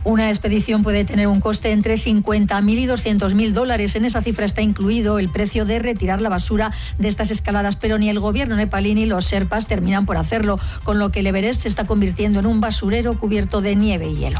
Una expedición puede tener un coste entre $50.000 y $200.000. En esa cifra está incluido el precio de retirar la basura de estas escaladas, pero ni el gobierno nepalí ni los sherpas terminan por hacerlo, con lo que el Everest se está convirtiendo en un basurero cubierto de nieve y hielo.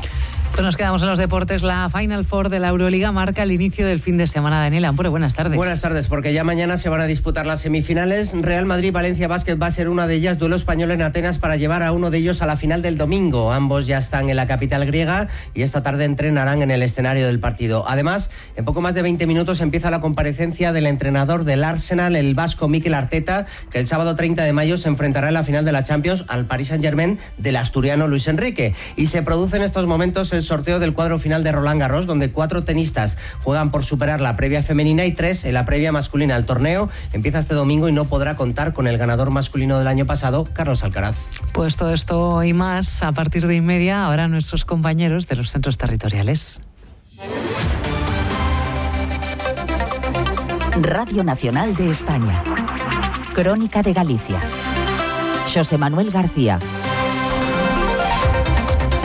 Pues nos quedamos en los deportes. La Final Four de la Euroliga marca el inicio del fin de semana. Daniel Ampure, buenas tardes. Buenas tardes, porque ya mañana se van a disputar las semifinales. Real Madrid-Valencia Basket va a ser una de ellas, duelo español en Atenas para llevar a uno de ellos a la final del domingo. Ambos ya están en la capital griega y esta tarde entrenarán en el escenario del partido. Además, en poco más de 20 minutos empieza la comparecencia del entrenador del Arsenal, el vasco Mikel Arteta, que el sábado 30 de mayo se enfrentará en la final de la Champions al Paris Saint-Germain del asturiano Luis Enrique. Y se produce en estos momentos el sorteo del cuadro final de Roland Garros, donde 4 tenistas juegan por superar la previa femenina y 3 en la previa masculina. El torneo empieza este domingo y no podrá contar con el ganador masculino del año pasado, Carlos Alcaraz. Pues todo esto y más a partir de 1:30, ahora nuestros compañeros de los centros territoriales. Radio Nacional de España. Crónica de Galicia. Xosé Manuel García.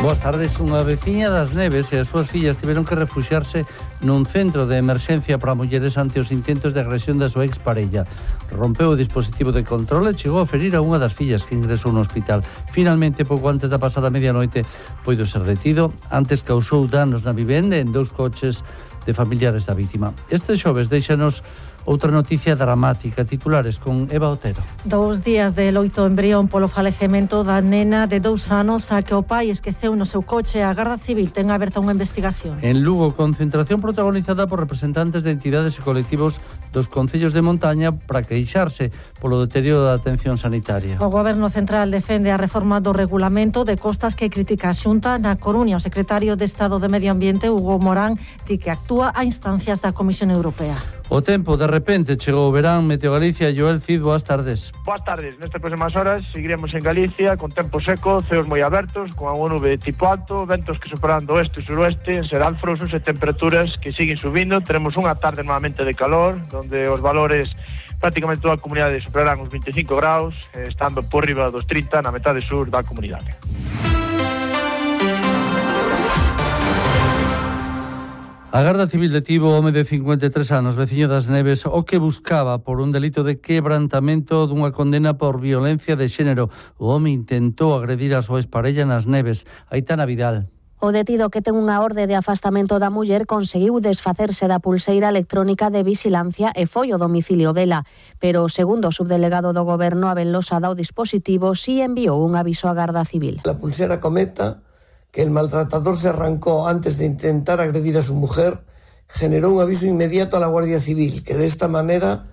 Boas tardes. Unha veciña das Neves e as súas fillas tiveron que refuxiarse nun centro de emerxencia para mulleres ante os intentos de agresión da súa exparella. Rompeu o dispositivo de control e chegou a ferir a unha das fillas que ingresou no hospital. Finalmente, pouco antes da pasada medianoite, puido ser detido. Antes causou danos na vivenda en 2 coches de familiares da vítima. Este xoves deixanos outra noticia dramática. Titulares con Eva Otero. 2 días de loito embrión polo falecemento da nena de 2 anos a que o pai esqueceu no seu coche. A Garda Civil ten aberta unha investigación. En Lugo, concentración protagonizada por representantes de entidades e colectivos dos concellos de montaña para queixarse polo deterioro da atención sanitaria. O Goberno Central defende a reforma do regulamento de costas que critica a Xunta. Na Coruña, o secretario de Estado de Medio Ambiente, Hugo Morán, di que actúa a instancias da Comisión Europea. O tempo, de repente, chegou o verán. Meteo Galicia, Joel Cid, boas tardes. Boas tardes. Nestas próximas horas seguiremos en Galicia con tempo seco, ceos moi abertos, con unha nube tipo alto, ventos que superan do oeste e suroeste, en seralfrosos e temperaturas que siguen subindo. Teremos unha tarde nuevamente de calor, donde os valores prácticamente toda a comunidade superarán os 25 graus, estando por riba dos 30 na metade sur da comunidade. A Garda Civil detivo o home de 53 anos, veciño das Neves, o que buscaba por un delito de quebrantamento dunha condena por violencia de xénero. O home intentou agredir a súa exparella nas Neves. Aitana Vidal. O detido, que ten unha orde de afastamento da muller, conseguiu desfacerse da pulseira electrónica de vixilancia e foi ao domicilio dela. Pero, segundo o subdelegado do Goberno, Abel Losada, o dispositivo si enviou un aviso á Garda Civil. La pulsera cometa que el maltratador se arrancó antes de intentar agredir a su mujer, generó un aviso inmediato a la Guardia Civil, que de esta manera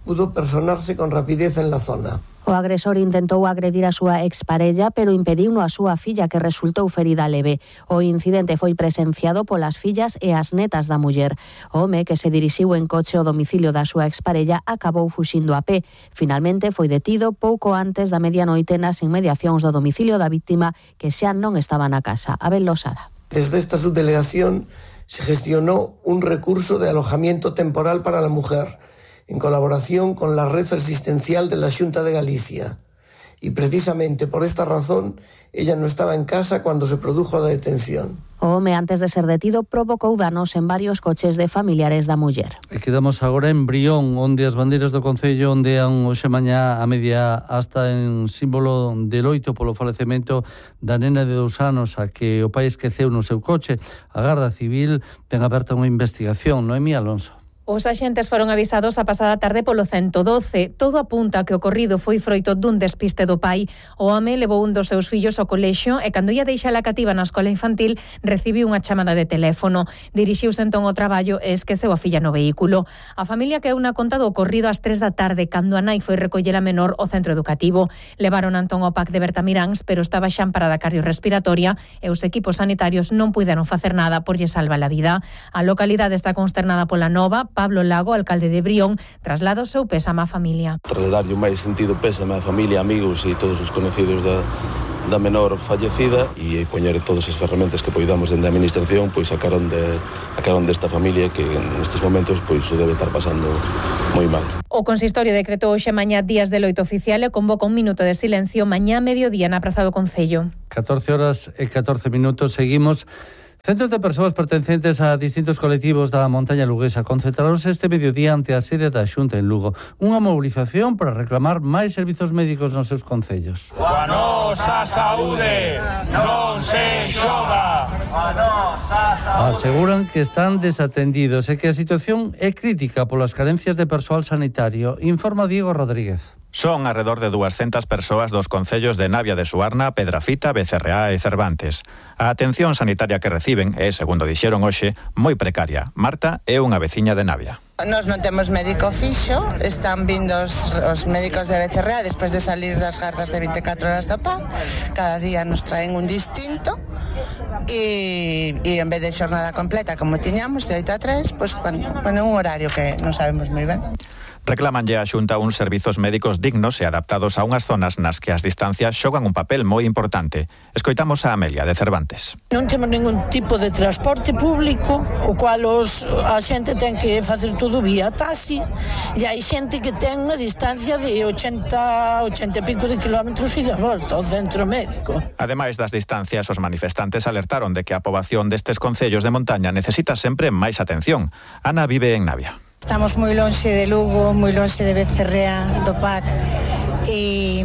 pudo personarse con rapidez en la zona. O agresor intentou agredir a súa exparella, pero impediuno a súa filla, que resultou ferida leve. O incidente foi presenciado polas fillas e as netas da muller. O home, que se dirixiu en coche ao domicilio da súa exparella, acabou fuxindo a pé. Finalmente foi detido pouco antes da medianoite nas inmediacións do domicilio da víctima, que xa non estaba na casa. Abel Losada. Desde esta subdelegación se gestionó un recurso de alojamiento temporal para la mujer, en colaboración con la red asistencial de la Xunta de Galicia. Y precisamente por esta razón, ella no estaba en casa cuando se produjo la detención. O home, antes de ser detido, provocou danos en varios coches de familiares da muller. E quedamos agora en Brión, onde as bandeiras do Concello ondean hoxe mañá a media hasta en símbolo de loito polo falecemento da nena de 2 anos a que o pai esqueceu no seu coche. A Garda Civil ten aberta unha investigación. Noemí Alonso. Os axentes foron avisados a pasada tarde polo 112. Todo apunta a que o ocorrido foi froito dun despiste do pai. O home levou un dos seus fillos ao colexio e cando ia deixar a cativa na escola infantil recibiu unha chamada de teléfono. Dirixiuse entón ao traballo e esqueceu a filla no vehículo. A familia quedou na conta do ocorrido ás 3 da tarde cando a nai foi recoller a menor ao centro educativo. Levaron entón ao PAC de Bertamiráns, pero estaba xa en parada cardiorrespiratoria e os equipos sanitarios non puideron facer nada por lle salvar a vida. A localidade está consternada pola nova. Pablo Lago, alcalde de Brión, traslada o seu pésame á familia. Trasladarlle o máis sentido pésame á familia, amigos e todos os conocidos da menor fallecida e poñer todas as ferramentas que poidamos dende a administración, pois sacaron desta familia que nestes momentos pois o debe estar pasando moi mal. O consistorio decretou hoxe mañá días de loito oficial e convoca un minuto de silencio mañá a mediodía na Praza do Concello. 14 horas e 14 minutos, seguimos Centos de persoas pertencentes a distintos colectivos da montaña luguesa concentraronse este mediodía ante a sede da Xunta en Lugo. Unha mobilización para reclamar máis servizos médicos nos seus concellos. A nosa saúde non se xoga. Aseguran que están desatendidos e que a situación é crítica polas carencias de persoal sanitario, informa Diego Rodríguez. Son alrededor de 200 persoas dos concellos de Navia de Suarna, Pedrafita, Becerreá e Cervantes. A atención sanitaria que reciben é, segundo dixeron hoxe, moi precaria. Marta é unha veciña de Navia. Nós non temos médico fixo, están vindo os médicos de Becerreá despois de salir das gardas de 24 horas do PA. Cada día nos traen un distinto e en vez de xornada completa como tiñamos, de 8 a 3, pois ponen un horario que non sabemos moi ben. Reclamanlle á Xunta uns servizos médicos dignos e adaptados a unhas zonas nas que as distancias xogan un papel moi importante. Escoitamos a Amelia de Cervantes. Non temos ningún tipo de transporte público, o cual a xente ten que facer todo vía taxi, e hai xente que ten unha distancia de 80 e pico de kilómetros e de volta ao centro médico. Ademais das distancias, os manifestantes alertaron de que a poboación destes concellos de montaña necesita sempre máis atención. Ana vive en Navia. Estamos moi lonxe de Lugo, moi lonxe de Becerreá, do PAC, e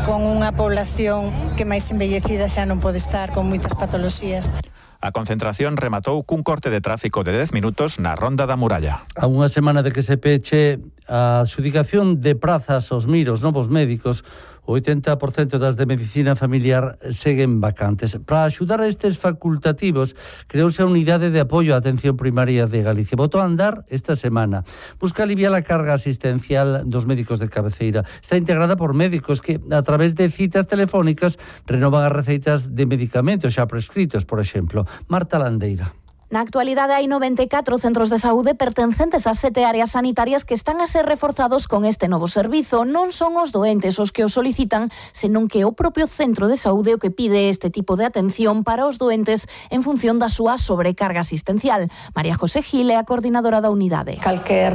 con unha población que máis envellecida xa non pode estar, con moitas patoloxías. A concentración rematou cun corte de tráfico de 10 minutos na Ronda da Muralla. A unha semana de que se peche a adxudicación de prazas aos miros novos médicos, o 80% das de medicina familiar seguen vacantes. Para axudar a estes facultativos, creouse a Unidade de Apoio á Atención Primaria de Galicia. Botou a andar esta semana. Busca aliviar a carga asistencial dos médicos de cabeceira. Está integrada por médicos que, a través de citas telefónicas, renovan as receitas de medicamentos xa prescritos, por exemplo. Marta Landeira. Na actualidade hai 94 centros de saúde pertencentes a 7 áreas sanitarias que están a ser reforzados con este novo servizo. Non son os doentes os que o solicitan, senón que é o propio centro de saúde o que pide este tipo de atención para os doentes en función da súa sobrecarga asistencial. María José Gil é a coordinadora da unidade. Calquer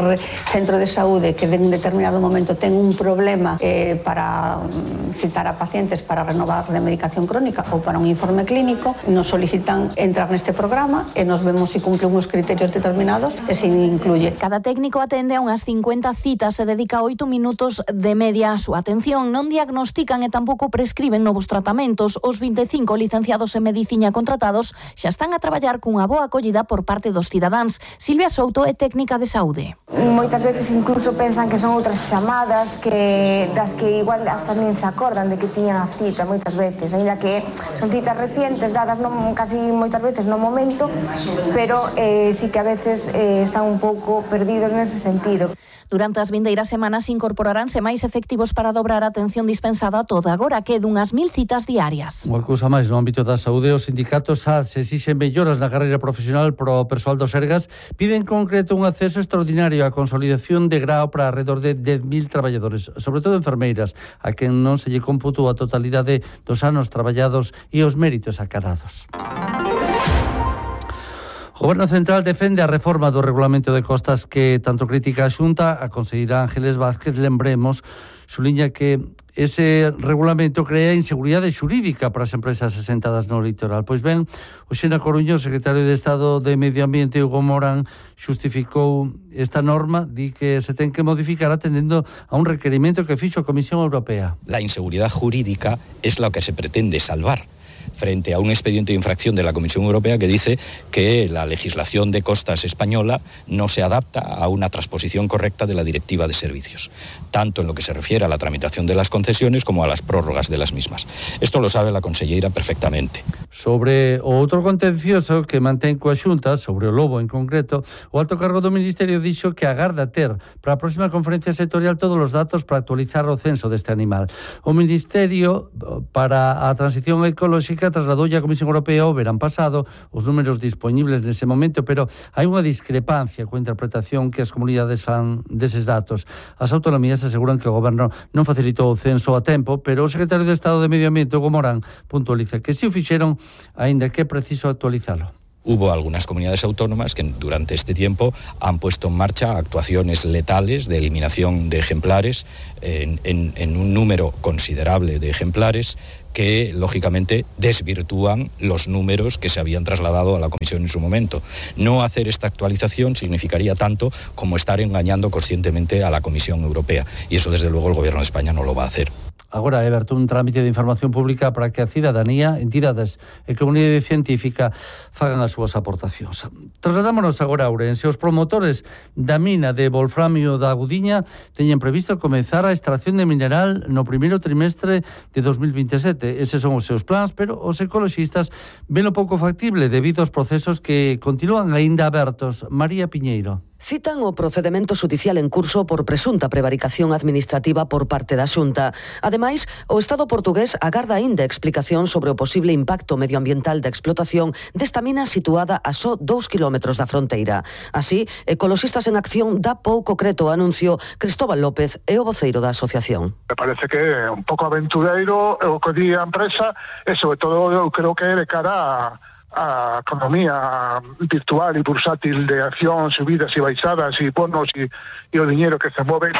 centro de saúde que en un determinado momento ten un problema para citar a pacientes para renovar de medicación crónica ou para un informe clínico, nos solicitan entrar neste programa e nos vemos se cumple uns criterios determinados e se incluye. Cada técnico atende a unhas 50 citas e dedica 8 minutos de media a súa atención. Non diagnostican e tampouco prescriben novos tratamentos. Os 25 licenciados en medicina contratados xa están a traballar cunha boa acollida por parte dos cidadáns. Silvia Souto é técnica de saúde. Moitas veces incluso pensan que son outras chamadas das que igual hasta nin se acordan de que tiñan a cita moitas veces, aínda que son citas recientes dadas casi moitas veces no momento, pero sí que a veces están un pouco perdidos nese sentido. Durante as vindeiras semanas incorporaránse máis efectivos para dobrar a atención dispensada toda agora, que é dunhas 1000 citas diarias. Unha cousa máis, no ámbito da saúde, os sindicatos SADS exixen melloras na carreira profesional pro persoal do Sergas, piden en concreto un acceso extraordinario á consolidación de grao para alrededor de 10.000 traballadores, sobre todo enfermeiras, a quen non se lle computou a totalidade dos anos traballados e os méritos acadados. O Goberno Central defende a reforma do Regulamento de Costas que tanto critica a Xunta. A conselleira Ángeles Vázquez, lembremos, suliña que ese regulamento crea inseguridade xurídica para as empresas asentadas no litoral. Pois ben, hoxe na Coruña, o secretario de Estado de Medio Ambiente, Hugo Morán, xustificou esta norma, di que se ten que modificar atendendo a un requerimento que fixo a Comisión Europea. La inseguridad jurídica es lo que se pretende salvar frente a un expediente de infracción de la Comisión Europea que dice que la legislación de costas española no se adapta a una transposición correcta de la Directiva de Servicios, tanto en lo que se refiere a la tramitación de las concesiones como a las prórrogas de las mismas. Esto lo sabe la conselleira perfectamente. Sobre o outro contencioso que mantén coa Xunta, sobre o lobo en concreto, o alto cargo do Ministerio dixo que agarda ter para a próxima conferencia sectorial todos os datos para actualizar o censo deste animal. O Ministerio para a Transición Ecolóxica trasladoulle a Comisión Europea o verán pasado os números disponibles nese momento, pero hai unha discrepancia coa interpretación que as comunidades fan deses datos. As autonomías aseguran que o Goberno non facilitou o censo a tempo, pero o secretario de Estado de Medio Ambiente, Hugo Morán, puntualiza que si o fixeron, aínda que é preciso actualizalo. Hubo algunas comunidades autónomas que durante este tiempo han puesto en marcha actuaciones letales de eliminación de ejemplares en un número considerable de ejemplares que, lógicamente, desvirtúan los números que se habían trasladado a la Comisión en su momento. No hacer esta actualización significaría tanto como estar engañando conscientemente a la Comisión Europea, y eso, desde luego, el Gobierno de España no lo va a hacer. Agora é aberto un trámite de información pública para que a cidadanía, entidades e comunidade científica fagan as súas aportacións. Trasladámonos agora a Ourense. Os promotores da mina de wolframio da Agudiña teñen previsto comezar a extracción de mineral no primeiro trimestre de 2027. Eses son os seus plans, pero os ecoloxistas ven o pouco factible debido aos procesos que continúan aínda abertos. María Piñeiro. Citan o procedemento xudicial en curso por presunta prevaricación administrativa por parte da Xunta. Ademais, o Estado portugués agarda aínda explicación sobre o posible impacto medioambiental da explotación desta mina situada a só 2 kilómetros da fronteira. Así, Ecoloxistas en Acción dá pouco creto ao anuncio. Cristóbal López é o voceiro da asociación. Me parece que é un pouco aventureiro o que di a empresa e, sobre todo, eu creo que é de cara a economía virtual e bursátil de acción, subidas e baixadas e bonos e o diñeiro que se move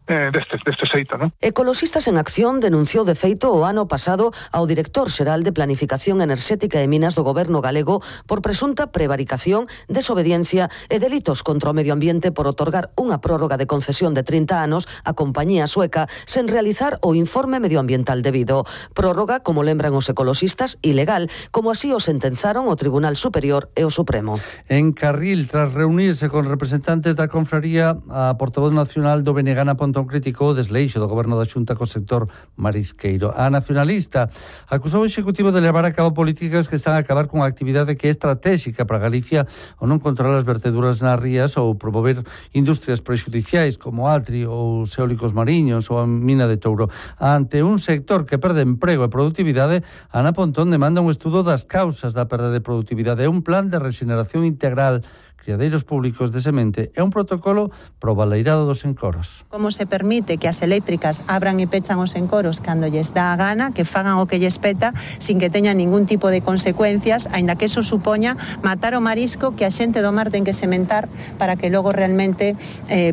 deste xeito, non? Ecoloxistas en Acción denunciou de feito o ano pasado ao director xeral de Planificación Enerxética e Minas do Goberno galego por presunta prevaricación, desobediencia e delitos contra o medio ambiente por otorgar unha prórroga de concesión de 30 anos á compañía sueca sen realizar o informe medioambiental debido. Prórroga, como lembran os ecoloxistas, ilegal, como así o sentenzaron o Tribunal Superior e o Supremo. En Carril, tras reunirse con representantes da confraría, a portavoz nacional do Benegana criticou o desleixo do goberno da Xunta co sector marisqueiro. A nacionalista acusou o Executivo de levar a cabo políticas que están a acabar cunha actividade que é estratégica para Galicia ou non controlar as verteduras nas rías ou promover industrias prexudiciais como Altri ou os eólicos mariños ou a mina de Touro. Ante un sector que perde emprego e produtividade, Ana Pontón demanda un estudo das causas da perda de produtividade e un plan de regeneración integral, criadeiros públicos de semente e un protocolo pro baleirado dos encoros. Como se permite que as eléctricas abran e pechan os encoros cando lles dá a gana, que fagan o que lles peta sin que teñan ningún tipo de consecuencias, aínda que eso supoña matar o marisco que a xente do mar ten que sementar para que logo realmente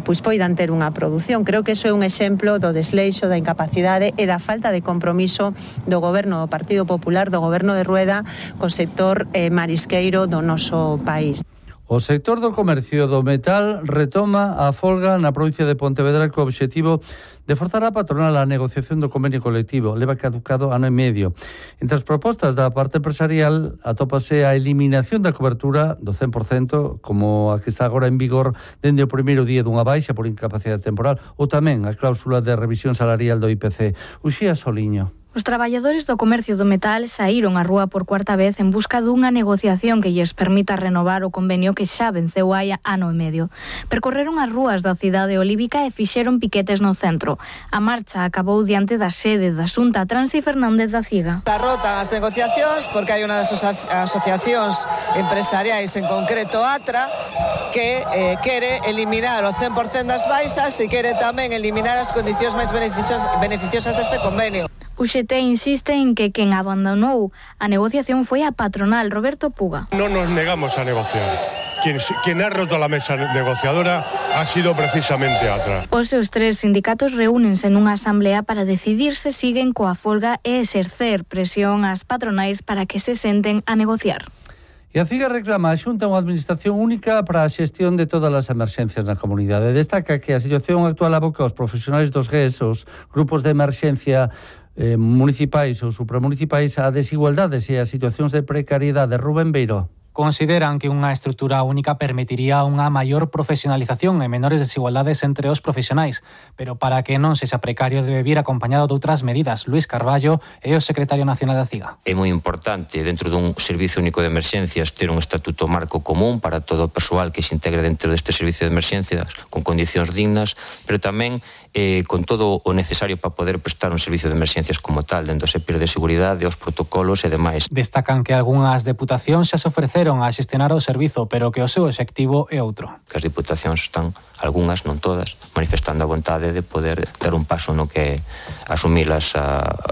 poidan ter unha produción. Creo que eso é un exemplo do desleixo, da incapacidade e da falta de compromiso do goberno do Partido Popular, do goberno de Rueda, co sector marisqueiro do noso país. O sector do comercio do metal retoma a folga na provincia de Pontevedra co obxectivo de forzar a patronal a negociación do convenio colectivo. Leva caducado ano e medio. Entre as propostas da parte empresarial atópase a eliminación da cobertura do 100%, como a que está agora en vigor dende o primeiro día dunha baixa por incapacidade temporal, ou tamén a cláusula de revisión salarial do IPC. Uxía Soliño. Os traballadores do comercio do metal saíron á rúa por cuarta vez en busca dunha negociación que lles permita renovar o convenio que xa venceu hai ano e medio. Percorreron as rúas da cidade olívica e fixeron piquetes no centro. A marcha acabou diante da sede da Xunta Transi Fernández da Ciga. Está rota as negociacións porque hai unha das asociacións empresariais, en concreto ATRA, que quere eliminar o 100% das baixas e quere tamén eliminar as condicións máis beneficiosas deste convenio. O UGT insiste en que quen abandonou a negociación foi a patronal Roberto Puga. No nos negamos a negociar. Quien ha roto la mesa negociadora ha sido precisamente ATRA. Os seus tres sindicatos reúnense nunha asamblea para decidir se siguen coa folga e exercer presión ás patronais para que se senten a negociar. E a CIGA reclama a Xunta unha administración única para a xestión de todas as emerxencias na comunidade. Destaca que a situación actual aboca aos profesionais dos GES, os grupos de emerxencia municipais ou supramunicipais, a desigualdades e a situacións de precariedade. Rubén Beiro. Consideran que unha estrutura única permitiría unha maior profesionalización e menores desigualdades entre os profesionais, pero para que non sexa precario debe vir acompañado de outras medidas. Luis Carballo é o secretario nacional da CIGA. É moi importante, dentro dun servicio único de emerxencias, ter un estatuto marco común para todo o persoal que se integre dentro deste servicio de emerxencias con condicións dignas, pero tamén con todo o necesario para poder prestar un servicio de emerxencias como tal, dentro do SEPIR de seguridade, os protocolos e demais. Destacan que algunhas deputacións xa se ofreceron aprenderon a xestionar o servizo, pero que o seu obxectivo é outro. Que as diputacións están, algunhas, non todas, manifestando a vontade de poder ter un paso no que asumir os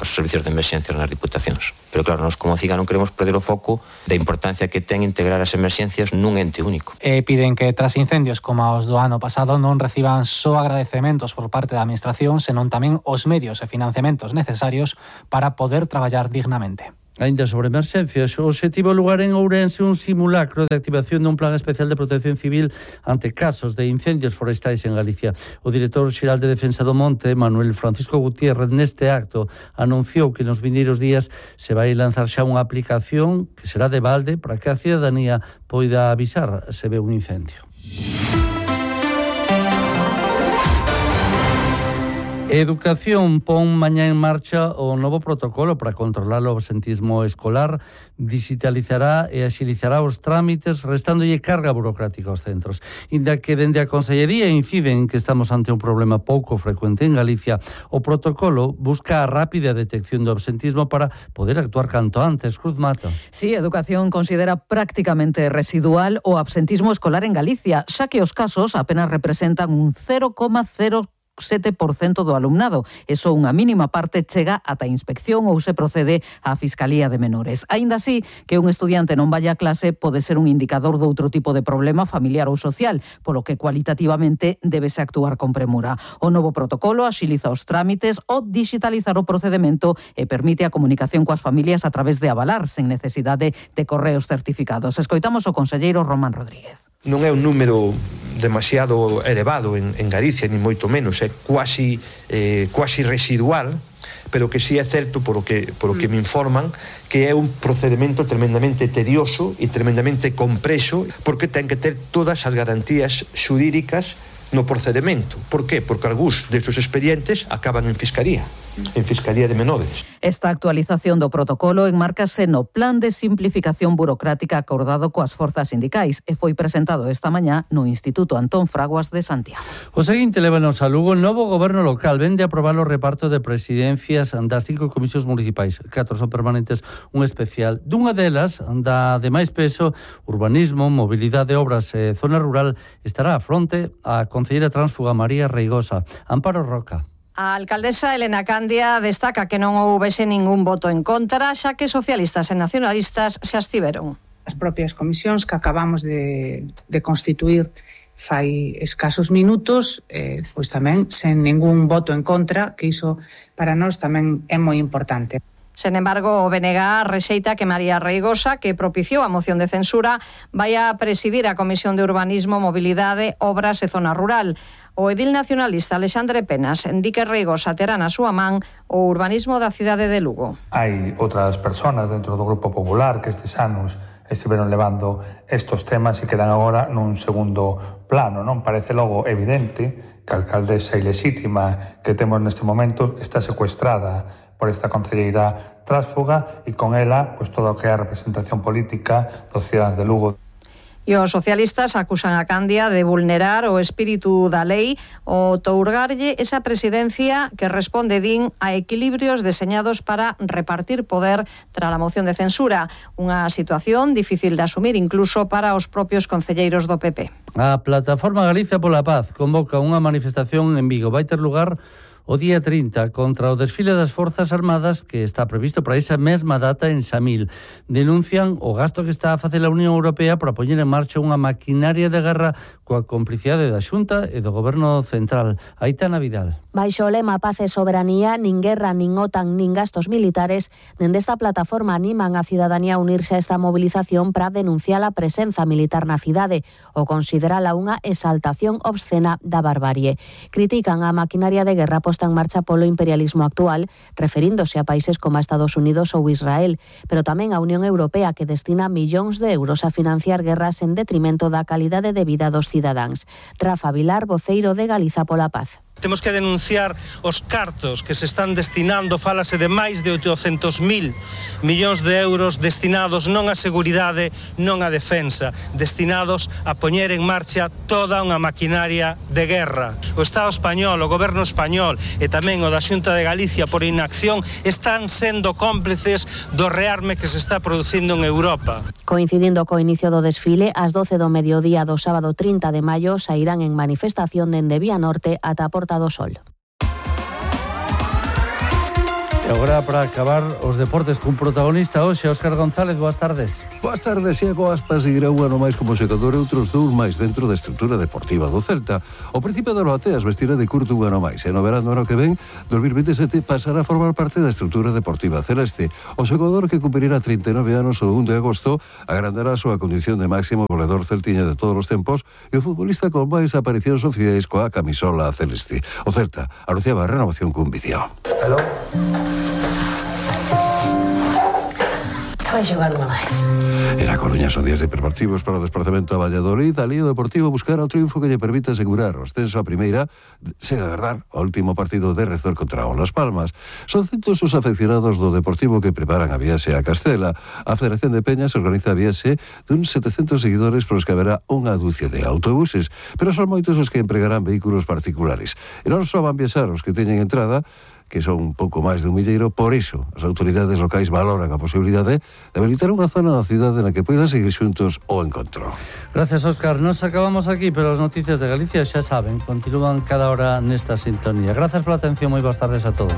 servicios de emerxencias nas diputacións. Pero claro, nós como CIGA non queremos perder o foco da importancia que ten integrar as emerxencias nun ente único. E piden que tras incendios como os do ano pasado non reciban só agradecementos por parte da administración, senón tamén os medios e financiamentos necesarios para poder traballar dignamente. Ainda sobre emerxencias, o obxectivo lugar en Ourense un simulacro de activación dun plan especial de protección civil ante casos de incendios forestais en Galicia. O director xeral de Defensa do Monte, Manuel Francisco Gutiérrez, neste acto anunciou que nos vindeiros días se vai lanzar xa unha aplicación que será de balde para que a cidadanía poida avisar se ve un incendio. Educación pon mañá en marcha o novo protocolo para controlar o absentismo escolar, digitalizará e axilizará os trámites, restándolle carga burocrática aos centros. Inda que dende a Consellería inciden que estamos ante un problema pouco frecuente en Galicia, o protocolo busca a rápida detección do absentismo para poder actuar canto antes. Cruz Mata. Sí, Educación considera prácticamente residual o absentismo escolar en Galicia, xa que os casos apenas representan un 0,07% do alumnado. Eso unha mínima parte chega ata a inspección ou se procede á Fiscalía de Menores. Aínda así, que un estudiante non vaya a clase pode ser un indicador de outro tipo de problema familiar ou social, polo que cualitativamente debese actuar con premura. O novo protocolo axiliza os trámites ou digitalizar o procedemento e permite a comunicación coas familias a través de avalar sen necesidade de correos certificados. Escoitamos o conselleiro Román Rodríguez. Non é un número demasiado elevado en Galicia, ni moito menos, é quasi residual, pero que sí é certo, por o que me informan, que é un procedimento tremendamente tedioso e tremendamente compreso, porque ten que ter todas as garantías xurídicas no procedimento. Por qué? Porque algúns destes expedientes acaban en Fiscalía de Menores. Esta actualización do protocolo enmárcase no Plan de Simplificación Burocrática acordado coas forzas sindicais e foi presentado esta mañá no Instituto Antón Fraguas de Santiago. O seguinte lévanos a Lugo. O novo goberno local vende a aprobar o reparto de presidencias das 5 comisións municipais. 4 son permanentes, un especial. Dunha delas, da de máis peso, urbanismo, mobilidade, obras e zona rural, estará a fronte a concelleira tránsfuga María Reigosa. Amparo Roca. A alcaldesa Elena Candia destaca que non houbese ningún voto en contra, xa que socialistas e nacionalistas se abstiveron. As propias comisións que acabamos de constituir fai escasos minutos, pois tamén sen ningún voto en contra, que iso para nós tamén é moi importante. Sen embargo, o BNG rexeita que María Reigosa, que propiciou a moción de censura, vai a presidir a Comisión de Urbanismo, Mobilidade, Obras e Zona Rural. O edil nacionalista Alexandre Penas di que Reigosa terá na súa man o urbanismo da cidade de Lugo. Hai outras persoas dentro do Grupo Popular que estes anos estiveron levando estos temas e quedan agora nun segundo plano, non? Parece logo evidente que a alcaldesa ilexítima que temos neste momento está secuestrada por esta concelleira tránsfuga e con ela pois toda o que é a representación política dos cidadanos de Lugo. E os socialistas acusan a Candia de vulnerar o espírito da lei ou tourgarlle esa presidencia que responde, din, a equilibrios deseñados para repartir poder tras a moción de censura. Unha situación difícil de asumir incluso para os propios concelleiros do PP. A Plataforma Galicia pola Paz convoca unha manifestación en Vigo. Vai ter lugar o día 30 contra o desfile das Forzas Armadas que está previsto para esa mesma data en Samil. Denuncian o gasto que está a facer a Unión Europea para poñer en marcha unha maquinaria de guerra coa complicidade da Xunta e do Goberno Central. Aitana Vidal. Baixo o lema Paz e Soberanía, nin guerra, nin OTAN, nin gastos militares, dende esta plataforma animan a cidadanía a unirse a esta movilización para denunciar a presenza militar na cidade ou considerala unha exaltación obscena da barbarie. Critican a maquinaria de guerra posta en marcha polo imperialismo actual, referíndose a países como Estados Unidos ou Israel, pero tamén a Unión Europea, que destina millóns de euros a financiar guerras en detrimento da calidade de vida dos cidadáns. Rafa Vilar, voceiro de Galiza pola Paz. Temos que denunciar os cartos que se están destinando, fálase de máis de 800.000 millóns de euros destinados non á seguridade, non á defensa, destinados a poñer en marcha toda unha maquinaria de guerra. O Estado español, o Goberno español e tamén o da Xunta de Galicia por inacción están sendo cómplices do rearme que se está producindo en Europa. Coincidindo co inicio do desfile, ás 12 do mediodía do sábado 30 de maio sairán en manifestación dende Vía Norte ata a Porta do Sol. E agora, para acabar, os deportes cun protagonista hoxe, Óscar González, boas tardes. Boas tardes, Iago Aspas seguirá un ano máis como secador e outros 2 máis dentro da estrutura deportiva do Celta. O Príncipe das Bateas vestirá de curto un ano máis e no verano ano que ven, 2027, pasará a formar parte da estrutura deportiva celeste. O xogador que cumprirá 39 anos o 1 de agosto agrandará a súa condición de máximo goleador celtiña de todos os tempos e o futbolista con máis aparicións oficiais coa camisola celeste. O Celta anunciaba a renovación cun vídeo. Hello. Vai xogar unha máis. En A Coruña son días de preparativos para o desplazamento a Valladolid. Ali o Deportivo buscará o triunfo que lle permita asegurar o ascenso a primeira sen agardar o último partido de Rezor contra o Las Palmas. Son centos os afeccionados do Deportivo que preparan a viaxe a Castela. A Federación de Peñas organiza a viaxe dun 700 seguidores polos que haberá unha dúcia de autobuses, pero son moitos os que empregarán vehículos particulares. E non só van viaxar os que teñen entrada, que son un pouco máis de un milleiro. Por iso, as autoridades locais valoran a posibilidade de habilitar unha zona na cidade na que poidan seguir xuntos o encontro. Gracias, Óscar. Nos acabamos aquí, pero as noticias de Galicia xa saben, continúan cada hora nesta sintonía. Gracias pola atención, moi boas tardes a todos.